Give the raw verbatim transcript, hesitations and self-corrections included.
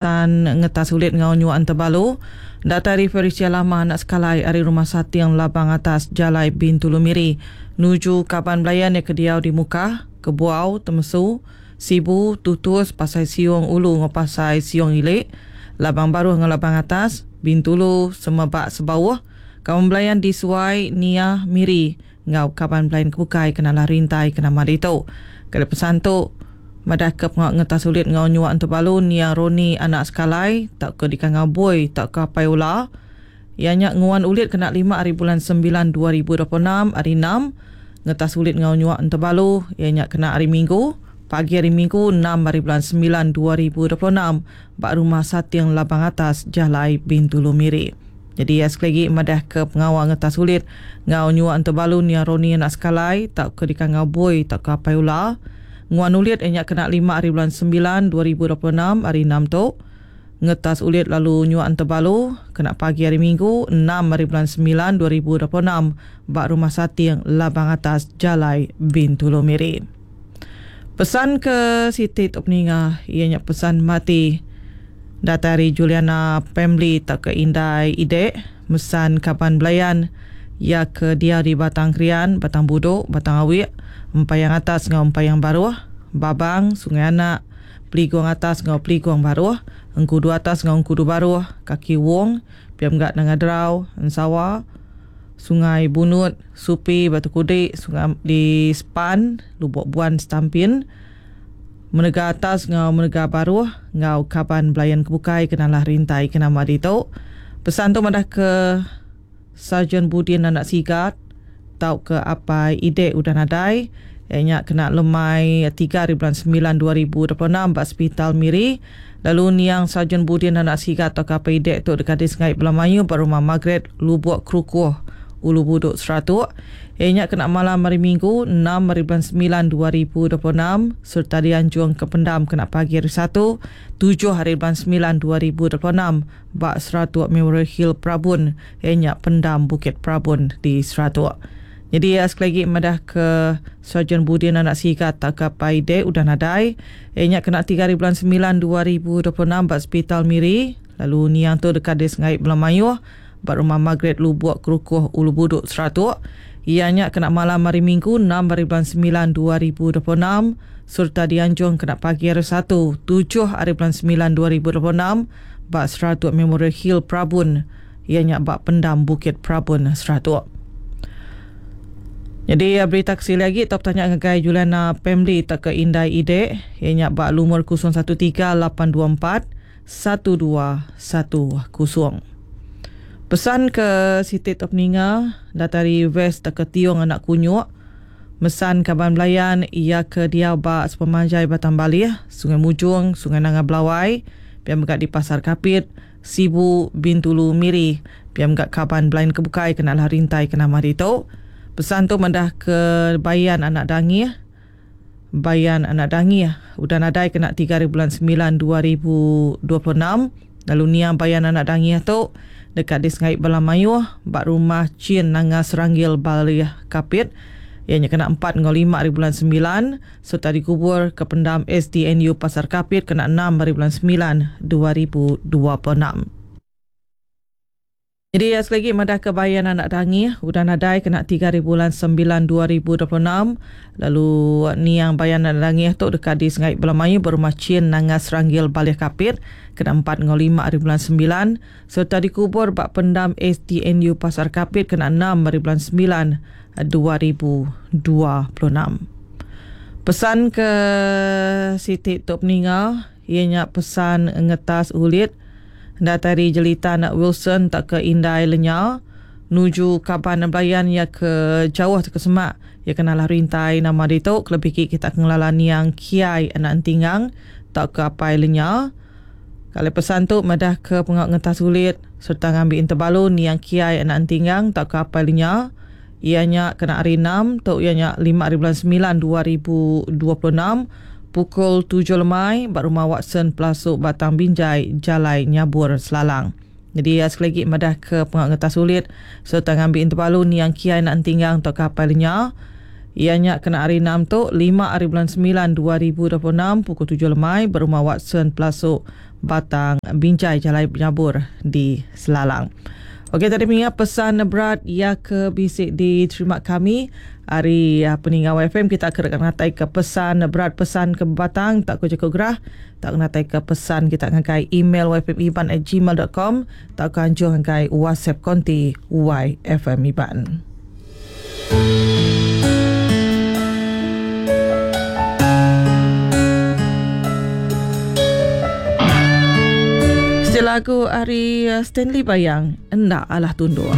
Pesan ngetas ulit enggau nyuak entebalu datai ari Felicia Lama anak Sekalai ari Rumah Sating Labang Atas Jalai Bintulu Miri nuju kaban belayan iya ke diau di Mukah, Kebuau, Temesu, Sibu, Tutus, Pasai Siong Ulu enggau Pasai Siong Ili, Labang Baruh enggau Labang Atas, Bintulu, Semebak Sebauh, kaban belayan di Suai, Niah, Miri enggau kaban belayan ke bukai ke nalah rintai ke nama ditu. Kali pesan tu madah ke pengawa ngetas ulit enggau nyuak entebalu niang Roni anak Sekalai tauka dikangau Boi tauka Apai Ula. Iya nya nguan ulit kena lima hari bulan sembilan dua ribu dua puluh enam hari enam. Ngetas ulit enggau nyuak entebalu iya nya kena hari Minggu, pagi hari Minggu enam hari bulan sembilan dua ribu dua puluh enam ba Rumah Sating Labang Atas Jalai Bintulu Miri. Jadi ya, sekali lagi madah ke pengawa ngetas ulit enggau nyuak entebalu niang Roni anak Sekalai tauka dikangau Boi tauka Apai Ula. Nguan ulit iya nya kena lima hari bulan sembilan dua ribu dua puluh enam hari enam tu. Ngetas ulit lalu nyuak entebalu kena pagi hari Minggu enam hari bulan sembilan dua ribu dua puluh enam ba Rumah Sating Labang Atas Jalai Bintulu Miri. Pesan ke Siti tu peninga iya nya pesan mati datai ari Juliana Pamly tauka Indai Ide mesan kaban belayan iya ke diau di Batang Krian, Batang Buduk, Batang Awik, Empayang Atas enggau Empayang Baruh, Babang, Sungai Anak, Peligong Atas enggau Peligong Baruh, Engkudu Atas enggau Engkudu Baruh, Kaki Wong, Pia Mega Nanga Derau, Ensawa, Sungai Bunut, Supi, Batu Kudik, Sungai di Sepan, Lubuk Buan Stampin, Menega Atas enggau Menega Baruh enggau kaban belayan kebukai kenalah rintai ke nama ditu. Pesan tu madah ke Sarjan Budin anak Sigat tauka Apai Ide udah nadai. Iya nya kena lemai tiga hari bulan sembilan dua ribu dua puluh enam ba Hospital Miri. Lalu niang Sarjan Budin anak Sigat tauka Apai Ide tu dekat di Sengai Belamayu ba Rumah Margaret Lubuk Kerukuh Ulu Buduk Seratuk. Iya nya kena malam hari Minggu enam hari bulan sembilan dua ribu dua puluh enam serta dianjung ke pendam kena pagi hari Satu tujuh hari bulan sembilan dua ribu dua puluh enam ba Seratuk Memorial Hill Prabun. Iya nya pendam Bukit Prabun di Seratuk. Jadi ya, sekali lagi madah ke Sarjan Budin anak Sigat tauka Apai Ide udah nadai. Iya nya kena tiga hari bulan sembilan dua ribu dua puluh enam ba Hospital Miri. Lalu niang tu dekat di Sengai Belamayuh ba Rumah Margaret Lubuk Kerukuh Ulu Buduk Seratuk. Iya nya kena malam hari Minggu enam hari bulan sembilan dua ribu dua puluh enam serta dianjung kena pagi hari Satu tujuh hari bulan sembilan dua ribu dua puluh enam ba Seratuk Memorial Hill Prabun. Iya nya ba pendam Bukit Prabun Seratuk. Jadi berita kesili lagi top tanya ngagai Juliana Pamly tauka Indai Ide iya nya ba lumur kosong satu tiga lapan dua empat satu dua satu kosong. Pesan ke Siti Top Ninga datai ari West tauka Tiong anak Kunyuk mesan kaban belayan iya ke diau ba sepemanjai Batang Balih, Sungai Mujung, Sungai Nanga Belawai, pia mega di Pasar Kapit, Sibu, Bintulu, Miri, pia mega kaban belayan ke bukai kena lah rintai ke nama ditu. Pesan tu madah ke Bayan anak Dangih. Bayan anak Dangih udah nadai kena tiga hari bulan sembilan dua ribu dua puluh enam. Lalu niang Bayan anak Dangih tu dekat di Sengai Belamayuh ba Rumah Chin Nanga Seranggil Balih Kapit. Iya nya kena empat enggau lima hari bulan sembilan serta dikubur ke pendam S D N U Pasar Kapit kena enam hari bulan sembilan dua ribu dua puluh enam. Jadi ya, sekali lagi madah ke Bayan anak Dangih udah nadai kena tiga hari bulan sembilan dua ribu dua puluh enam. Lalu niang Bayan anak Dangih tu dekat di Sengai Belamayu berumah Chin Nanga Seranggil Balih Kapit kena empat enggau lima hari bulan sembilan serta dikubur ba pendam S D N U Pasar Kapit kena enam hari bulan sembilan dua ribu dua puluh enam. Pesan ke Siti Tok Peninga iya nya pesan ngetas ulit datai ari Jelita anak Wilson tak ke Indai Lenya nuju kaban belayan iya ke jauh ke semak iya kenalah rintai nama ditu kelebih ki kita ngelala niang Kiai anak Entingang tak ke Apai Lenya. Kalau pesan tu madah ke pengak ngetas ulit serta ngambi entebalu niang Kiai anak Entingang tak ke Apai Lenya iya nya kena hari enam tu iya nya lima hari bulan sembilan dua ribu dua puluh enam pukul tujuh lemai ba Rumah Watson Pelasuk Batang Binjai Jalai Nyabur Selalang. Jadi ya, sekali lagi madah ke pengak ngetas ulit serta ngambi entebalu niang Kiai anak Entinggang atau ke Apai Lenya Iya nya kena hari enam tu, lima hari bulan semilan dua ribu dua puluh enam pukul tujuh lemai berumah Watson Pelasuk Batang Binjai Jalai Nyabur di Selalang. Okey, tadi mengingat pesan berat ya ke bisi diterima kami hari peninggal Y F M, kita akan ngatai ke pesan berat pesan ke batang tak ku jaku gerah, tak ngatai ke pesan kita ngagai email y f m iban at gmail dot com, tak ku anjung ngagai WhatsApp konti Y F M Iban. Lagu ari Stanley Bayang, Enda Alah Tunduk.